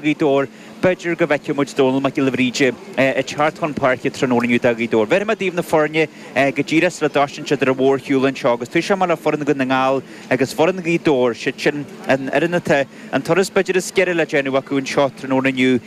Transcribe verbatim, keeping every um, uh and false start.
Ghaoth Dobhair, b'fhéidir go bhfeicfidh muid Dónal Mac Giolla Bhríde ag teacht chun páirce tráthnóna inniu do Ghaoth Dobhair. Bhéarfaidh mé daoibh na foirne go díreach sula dtosaíonn siad ar an mhórshiúl anseo agus toiseoidh mé le foireann Dhún na nGall agus foireann Ghaoth Dobhair, siad sin an fhoireann atá an turas b'fhéidir is giorra le déanamh acu anseo tráthnóna inniu.